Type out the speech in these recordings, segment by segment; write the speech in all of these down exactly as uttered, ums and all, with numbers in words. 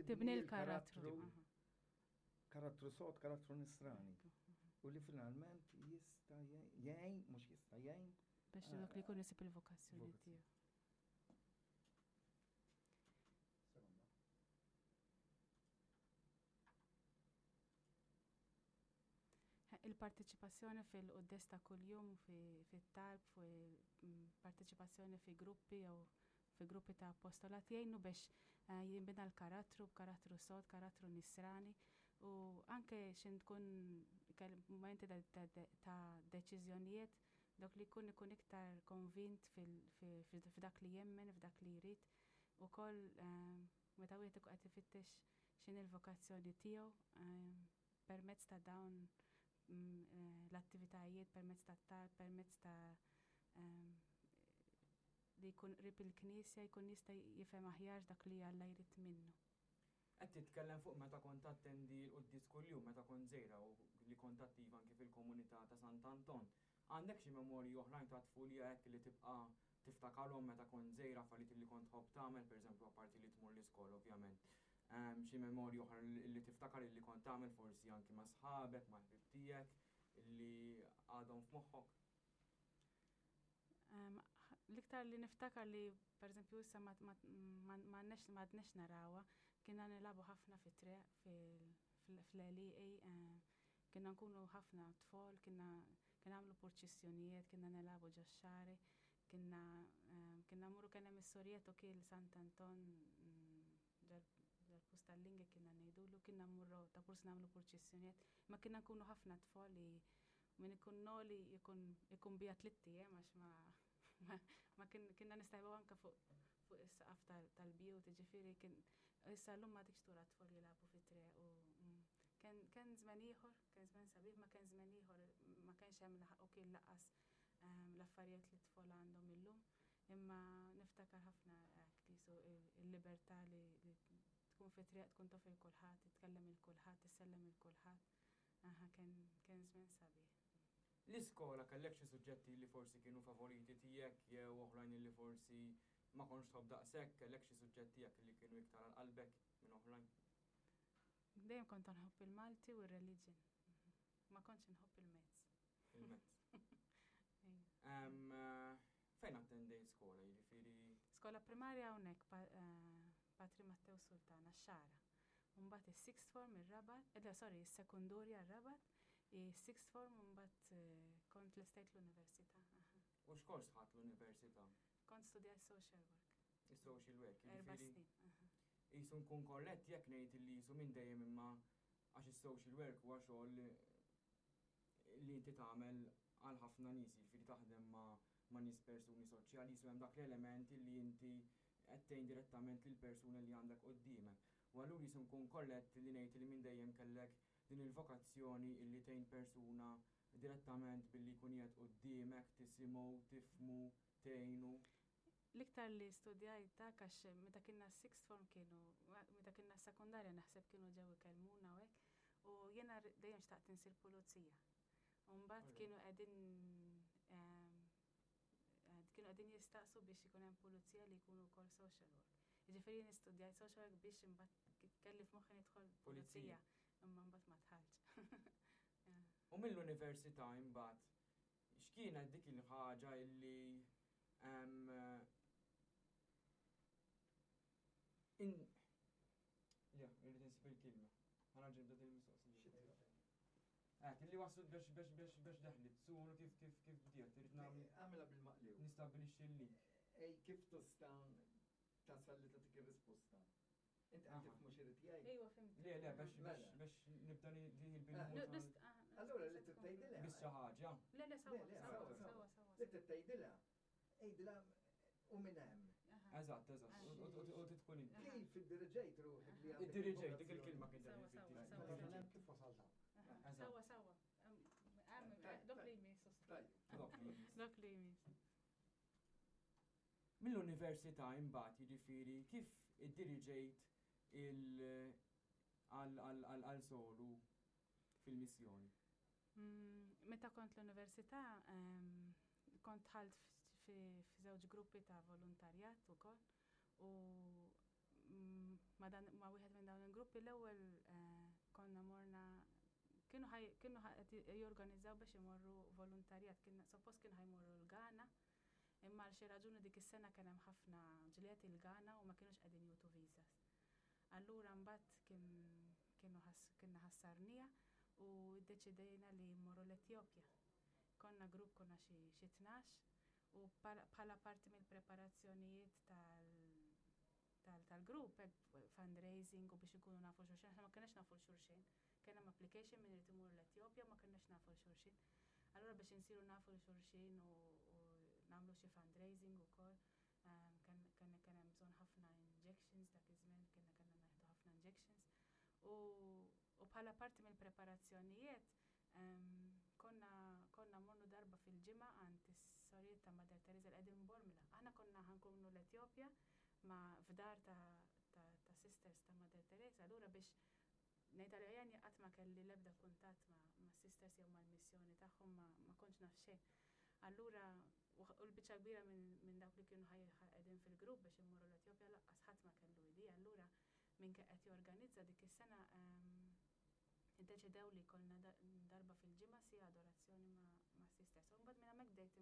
Tibni l-karattru. Karattru sod, karattru nisrani. U li finalment jista' jgħin, mhux jista' jgħin. Biex dak li jkun isib il-vokazzjoni tiegħu. Il-parteċipazzjoni fil-quddies ta' kuljum, fit-talb, parteċipazzjoni fi gruppi jew fi gruppi ta' apostolat jgħinu biex jinbina l-karattru, karattru sod, karattru nisrani, u anke xin tkun momenti ta' deċiżjonijiet, dak li jkun ikun iktar konvint f'dak li jemmen, f'dak li jrid, ukoll meta wieħed ikun qed ifittex x'inhi l-vokazzjoni tiegħu permezz ta' dawn l-attivitajiet, permezz ta' talb, permezz ta' li jkun qrib il-Knisja, jkun jista' jifhem aħjar dak li Alla jrid minnu. Qed titkellem fuq meta kont attendi l-quddies kuljum, meta kont żgħira u li kont attiva anke fil-komunità ta' Sant'Anton. Għandek xi memorji oħrajn ta' tfulija hekk li tibqa' tiftakarhom meta kont żgħira, affarijiet li kont tħobb tagħmel, pereżempju apparti li tmur l-iskola ovvjament. Xi memorji oħra li tiftakar li kont tagħmel forsi anki ma' sħabek, ma' ħbieb tiegħek li għadhom f'moħħok? L-iktar li niftakar li pereżempju issa ma għadniex narawha, kienna nilagħbu ħafna fit-triq, fl-għelieqi, kienna nkunu ħafna tfal, kienna nagħmlu purċissjonijiet, kienna nilagħbu ġox-xagħri, kienna kienna mmorru kien hemm is-sorjet u kien Sant'Anton ġal-post tal-lingi kienna ngħidulu, kienna mmorru ta' purs nagħmlu purċissjonijiet, ma kienna nkunu ħafna tfal li min ikun noli ikun bija tliet ijiem għax ma ma kienna nistajbu anke fuq is-saqaf tal-bjut, jiġifieri kien issa llum ma dik tura tfal jilagħbu fit-triq u kien żmien ieħor, kien żmien sabiħ, ma kien żmien ieħor, ma kienx hemm u kien laqas l-affarijiet li t-tfal għandhom illum, imma niftakar ħafna hekk li su il-libertà li tkun fit-triq, tkun taf il kulħadd, titkellem il kulħadd, tissellem il kulħadd. Aha, kien żmien sabiħ. L-iskola kellek xi suġġetti li forsi kienu favoriti tiegħek jew oħrajn li forsi ma kontx tħobb daqshekk, kellek xi suġġetti tiegħek li kienu iktar għal qalbek minn oħrajn? Dejjem kont nħobb il-Malti u r-reliġjon. Ma kontx inħobb il-mezz. Il-mezz. Fejn attendejt skola, jiġifieri? Skola primarja hawnhekk, Patri Matteo Sultana, x-Xagħra. Mbagħad is-sixth form ir-Rabat, eh, sorry, is-sekundurja r-Rabat, is-sixth form mbagħad kont l-estate l-università. U x'kors ħadt l-università? Kont studjajt social work. Is-social work, Erba' jiġifieri snin. Jisu nkun korrett jekk ngħid li jisu minn dejjem imma għax is-social work huwa xogħol li inti tagħmel għal ħafna nies, jiġifieri taħdem ma' nies persuni soċjali, jisu hemm dak l-element li inti qed tgħin direttament lil persuna li għandek quddiemek. U allura jisu nkun korrett li ngħid li minn dejjem kellek din il-vokazzjoni illi tgħin persuna direttament billi jkun qiegħed quddiemek, tisimgħu, tifhmu, tgħinu. L-iktar li studjajt dak għax meta kienna sixth form kienu, meta kienna sekundarja naħseb kienu ġew ikellmuna u hekk, u jiena dejjem xtaqt insir pulizija. U mbagħad kienu qegħdin kienu qegħdin jistaqsu biex ikun hemm pulizija li jkunu wkoll social work. Jiġifieri jien istudjajt social work biex imbagħad kelli f'moħħi nidħol pulizija, imma mbagħad ma dħaltx. U mill-università imbagħad x'kienet dik il-ħaġa illi in Ja, irrid insib il-kelma. Ħa nerġa' nibda din il-mistoqsija. Eh, illi waslu biex biex biex biex daħlit, suru kif kif kif bdiet, irrid nagħmel. Għamilha bil-maqlib. Nistabbilixxi l-link. Ej, kif tista' tasal li tagħtik ir-risposta? Inti qed tifhmu x'irid jgħid? Ejwa, fimt. Le, le, biex biex biex nibda din il-bil. Allura li tgħidilha. Biss xi ħaġa. Le, le, sawa, sawa, sawa, sawa. Li tgħidilha, għidilha u minn hemm. Eżatt, eżatt. U titkun inti. Kif iddiriġejt ruħek li għandek? Iddiriġejt dik il-kelma kien Sawa, sawa, Minn hemm kif wasalt hawn? Sawa, sawa. Dok li jmiss. Dok li jmiss. Mill-università imbagħad jiġifieri kif iddiriġejt għal solu fil-missjoni? Meta kont l-università kont dħalt f'żewġ gruppi ta' volontarjat ukoll u ma' dan ma' wieħed minn dawn il-gruppi. L-ewwel eh, konna morna, kienu ħaj kienu qed jorganizzaw biex imorru volontarjat, kien suppost kienu ħa jmorru l-Ghana, imma għal xi raġuni dik is-sena kien hemm ħafna ġlied il-Ghana u ma kienux qegħdin jagħtu visas. Allura mbagħad kien kienu kienna ħassarnija u ddeċidejna li mmorru l-Etjopja. Konna grupp, konna xi xi tnax, u bħala parti mill-preparazzjonijiet tal tal-grupp, fundraising u biex ikunu nafu xulxin, aħna ma kienx nafu xulxin. Kien hemm application min irid imur l-Etjopja, ma kienx nafu xulxin. Allura biex insiru nafu xulxin u nagħmlu xi fundraising ukoll, kien kien hemm bżonn ħafna injections dak iż-żmien, kienna kellna nieħdu ħafna injections. U bħala parti mill-preparazzjonijiet konna konna mornu darba fil-ġimgħa għand is-sorijiet ta' Mother Teresa li qegħdin Bormla. Aħna konna ħa nkunu l-Etjopja ma f'dar ta' ta' sisters ta' Mother Teresa. Allura biex ngħid għalija, qatt ma kelli l-ebda kuntatt ma' sisters jew mal-missjoni tagħhom, ma ma kontx naf xejn. Allura u l-biċċa kbira minn dawk li kienu qegħdin fil-grupp biex immorru l-Etjopja lanqas ħadd ma kellu idea. Allura min qed jorganizza dik is-sena iddeċidew li konna darba fil-ġimgħa si adorazzjoni ma' sisters. U mbagħad minn hemmhekk bdejt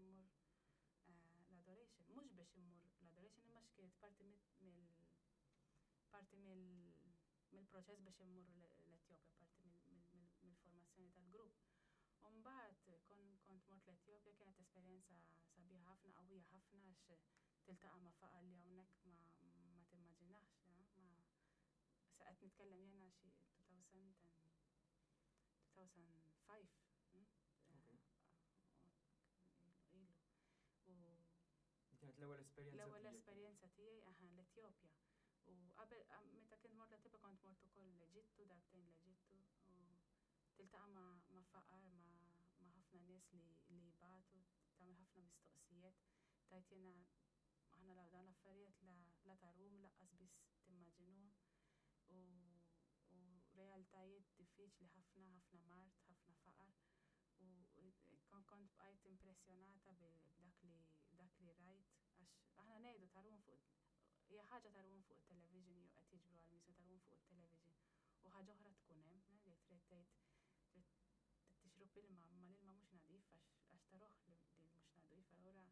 immur l-adoration, mhux biex immur l-adoration imma x'kienet parti mill parti mill-proċess biex immur l-Etjopja, parti mill-formazzjoni tal-grupp. U mbagħad kont mort l-Etjopja, kienet esperjenza sabiħa ħafna, qawwija ħafna, għax tiltaqa' ma' faqar li hawnhekk ma ma timmaġinax, ma sa qed nitkellem jena xi elfejn u ħamsa. Ilu. U Kienet l-ewwel esperjenza. L-ewwel esperjenza tiegħi, aha, l-Etjopja. U qabel, meta kien mort l-Etjopja, kont mort ukoll l-Eġittu, darbtejn l-Eġittu, u tiltaqa' ma' ma' faqar, ma' ma' ħafna nies li li jbatu, tagħmel ħafna mistoqsijiet, tajt jiena aħna la dawn l-affarijiet la la tarhom lanqas biss timmaġinuhom u u realtajiet diffiċli ħafna, ħafna mard, ħafna faqar, u kon kont bqajt impressjonata b'dak li dak li rajt, għax aħna ngħidu tarhom fuq, hija ħaġa tarhom fuq it-television jew qed jiġbru għal missjoni tarhom fuq it-television u ħaġa oħra tkun hemm li trid tgħid trid tixrob ilma, ma l-ilma mhux nadif għax għax taroh li li mhux nadif, allura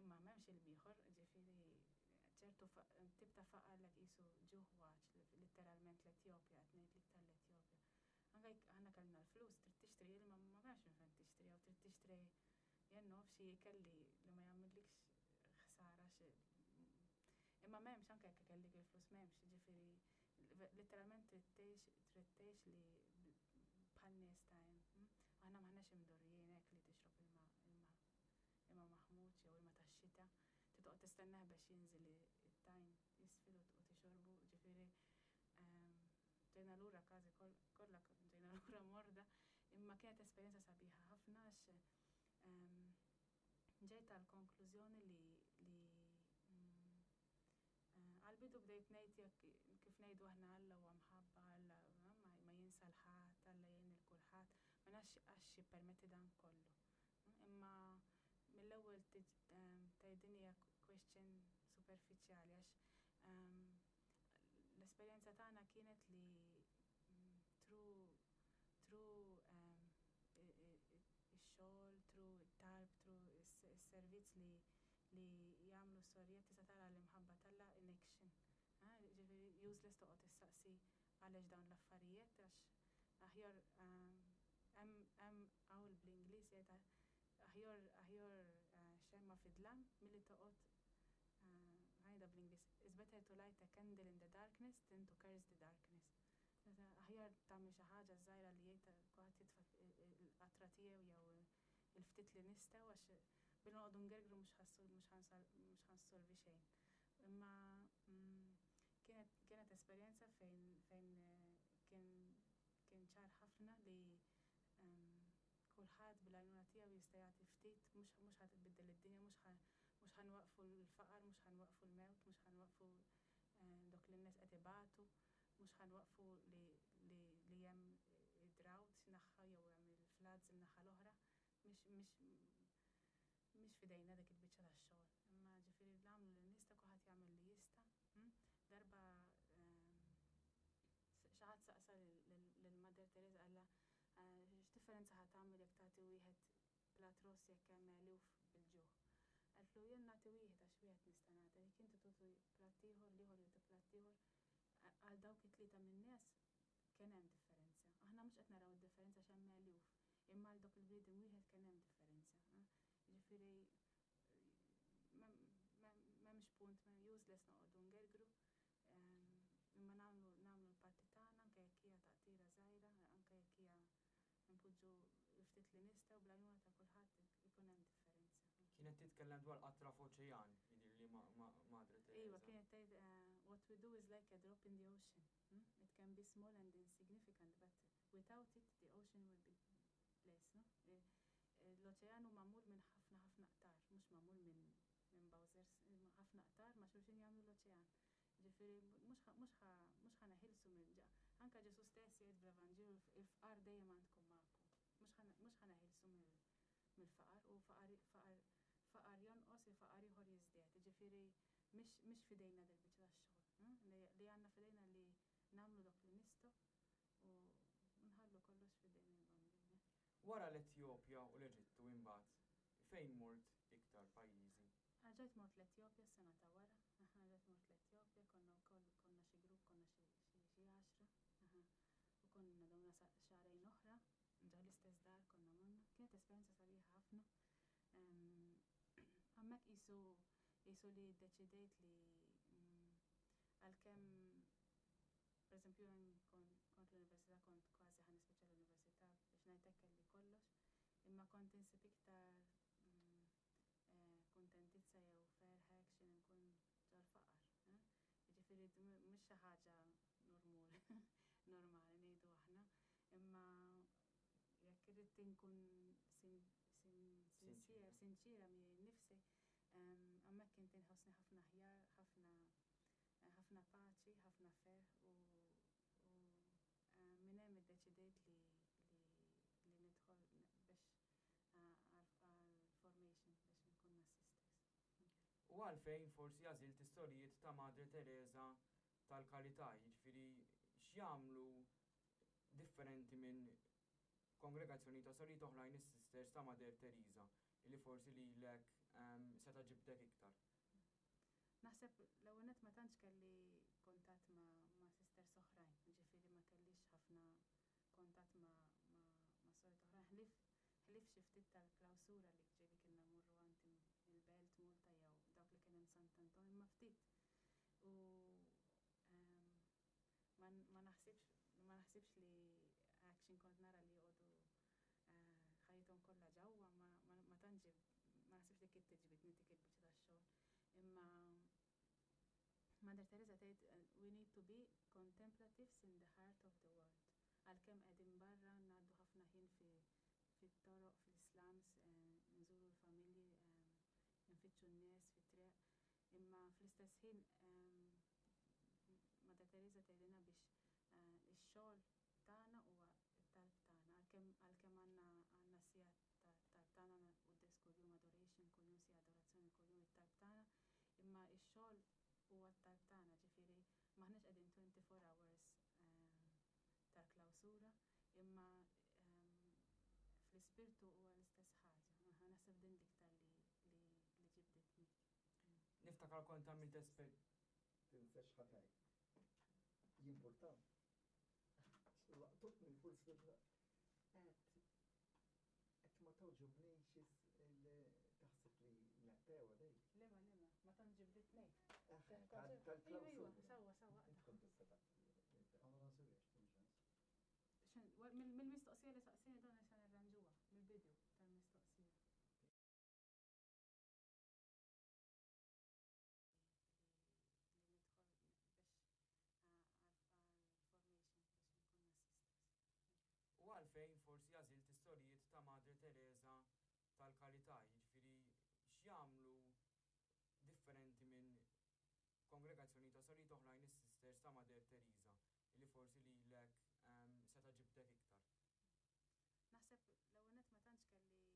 imma m'hemmx ilma ieħor, ġifieri ċertu tip ta' faqar li qisu ġuħ waċ, letteralment l-Etjopja, qed ngħidlek tal-Etjopja. Anke jekk aħna kellna l-flus, trid tixtri ilma, ma m'hemmx minn fejn tixtri, jew trid tixtri jien naf xi ikel li li ma jagħmillikx ħsara xi, imma m'hemmx, anke jekk kellek il-flus m'hemmx, ġifieri letteralment trid tgħix trid tgħix li bħal nies ta' hemm. Aħna m'aħniex imdorrijin hekk li tixrob ilma ilma ilma maħmuġ jew ilma tax-xita. Titoqgħod tistenneħ biex jinżel it-tajn isfel u tixorbu, ġifieri ġejna lura każi kollha ġejna lura morda, imma kienet esperjenza sabiħa ħafna għax ġejt għal konklużjoni li li għal-bidu bdejt ngħid jekk kif ngħidu aħna Alla huwa mħabba, Alla ma jinsa l-ħadd, Alla jgħin lil kulħadd, ma nafx għax jippermetti dan kollu. Imma mill-ewwel tgħid din hija question superfiċjali, għax l-esperjenza tagħna kienet li through through ix-xogħol, through it-talb, through is-servizz li li jagħmlu s-sorijiet tista' tara l-imħabba t'Alla in action. Ġifieri useless toqgħod issaqsi għaliex dawn l-affarijiet, għax aħjar hemm hemm qawl bl-Ingliż jgħid aħjar aħjar xemma fid-dlam milli toqgħod, ħa ngħidha bl-Ingliż, "It's better to light a candle in the darkness than to curse the darkness." Aħjar tagħmel xi ħaġa żgħira li jgħid kulħadd jitfa' l-qatra tiegħu jew il-ftit li nistgħu, għax billi noqogħdu ngergru mhux mhux ħa nsolvi xejn. Imma kienet kienet esperjenza fejn fejn kien kien ċar ħafna li kulħadd bil-għajnuna tiegħu jista' jagħti ftit, mhux mhux ħa tbiddel id-dinja, mhux ħa mhux ħa nwaqfu l-faqar, mhux ħa nwaqfu l-mewt, mhux ħa nwaqfu dok li n-nies qed ibatu, mhux ħa nwaqfu li li li hemm id-drought naħa jew hemm il-floods in-naħa l-oħra, mhix mhix mhix f'idejna dik il-biċċa tax-xogħol. Imma ġifieri nagħmlu li nista', kulħadd jagħmel li jista'. Darba Teresa qalla x'differenza ħa tagħmel jekk tagħti wieħed plat ross jekk hemm eluf bil-ġuħ. Qaltlu jien nagħti wieħed għax wieħed nista' nagħti, jekk inti tagħtu platt ieħor, l-ieħor jagħti platt ieħor, għal dawk it-tlieta min-nies kien hemm differenza. Aħna mhux qed naraw id-differenza għax hemm eluf, imma għal dak il-bniedem wieħed kien hemm differenza. Ġifieri m'hemmx punt, useless noqogħdu ngergru, imma nagħmlu nagħmlu l-parti tagħna anke jekk hija taqtira żgħira, anke jekk hija npoġġu ftit li nistgħu bl-għajnuna ta' kulħadd ikun hemm differenza. Kienet titkellem dwar qatra f'oċean, jidir li Madre Teresa. Iva, kienet tgħid what we do is like a drop in the ocean. Hmm? It can be small and insignificant, but without it the ocean will be less, no? L-oċean hu magħmul minn ħafna ħafna qtar, mhux magħmul minn minn bowsers, ħafna qtar ma' xulxin jagħmlu l-oċean. Ġifieri mhux mhux ħa neħilsu minn ġa. Anka Ġesu stess jgħid bl-Evanġelju il-fqar dejjem għandkom magħkom. Mhux ħa neħilsu mill-faqar u faqar faqar faqar jonqos il-faqar ieħor jiżdied. Ġifieri mhix f'idejna dil-biċċa tax-xogħol. Li għandna f'idejna li nagħmlu dak li nistgħu u nħallu kollox f'idejn il-Bambin. Wara l-Etjopja u l-Eġittu imbagħad, fejn mort iktar pajjiżi? Erġajt mort l-Etjopja s-sena ta' wara, erġajt mort l-Etjopja, konna wkoll konna xi grupp, konna xi għaxra, u konna domna xahrejn oħra, ġo l-istess dar konna morna. Kienet esperjenza sabiħa ħafna. Hemmhekk qisu qisu li ddeċidejt li għalkemm pereżempju kont l-università kont kważi ħa nispiċċa l-università biex ngħid hekk kelli kollox, imma kont insib iktar kuntentizza jew ferħ hekk xi nkun ġol-faqar. Jiġifieri mhux xi ħaġa normali ngħidu aħna, imma jekk irrid inkun sinċira miegħi nnifsi, hemmhekk kont inħossni ħafna aħjar, ħafna ħafna paċi, ħafna ferħ u minn hemm iddeċidejt li li nidħol biex għal formation biex nkun mas-sisters. U għalfejn forsi għażilt is-sorijiet ta' Madre Teresa tal-Karità, jiġifieri x'jagħmlu differenti minn kongregazzjoni ta' sorijiet oħrajn is-sisters ta' Mother Teresa li forsi lilek seta' ġibdek iktar? Naħseb l-ewwel nett ma tantx kelli kuntatt ma' ma' sisters oħrajn, ġifieri ma kellix ħafna kuntatt ma' ma' ma' sorijiet oħrajn, ħlief ħlief xi ftit tal-klawsura li ġieli kienna mmorru għand il-Belt Malta jew dawk li kien hemm Sant'Anton imma ftit. U ma naħsibx ma naħsibx li action kont nara li joqogħdu ħajjithom kollha ġewwa ma ma tantx ma naħsibx li kien tiġbidni dik il-biċċa tax-xogħol. Imma Mother Teresa tgħid we need to be contemplatives in the heart of the world. Għalkemm qegħdin barra ngħaddu ħafna ħin fit-toroq, fil-slums, nżuru l-familji, nfittxu n-nies fit-triq, imma fl-istess ħin Mother Teresa tgħidilna biex ix-xogħol tagħna huwa t-talb tagħna, għalkemm għalkemm għandna għandna siegħa tat-talb tagħna quddies kuljum adoration, kuljum siegħa adorazzjoni, kuljum it-talb tagħna, imma x-xogħol huwa t-talb tagħna, ġifieri m'aħniex qegħdin twenty-four hours tal-klawsura, imma fl-ispirtu huwa l-istess ħaġa. Naħseb din l-iktar li li ġibditni. Niftakar kont għamilt esper. Tinsex ħataj. Jimportaw. Laqtutni forsi qed qed ma togħġobnix taħseb li naqtew għadej. Lema, lema, ma tant ġibditni. Tal-klawsura. Iva, sewwa, sewwa. Int kont tista' tagħti. Ma naħsibx, Mill-mistoqsija li saqsini dan se nirranġuha, mill-bidu tal-mistoqsija. Li nidħol biex għal formation biex nkun mas-sisters. U għalfejn forsi għażilt is-sorijiet ta' Madre Teresa tal-Karità, jiġifieri x'jagħmlu differenti minn kongregazzjoni ta' sorijiet oħrajn is-sisters ta' Mother Teresa li forsi lilek seta' ġibdek iktar? Naħseb l-ewwel nett ma tantx kelli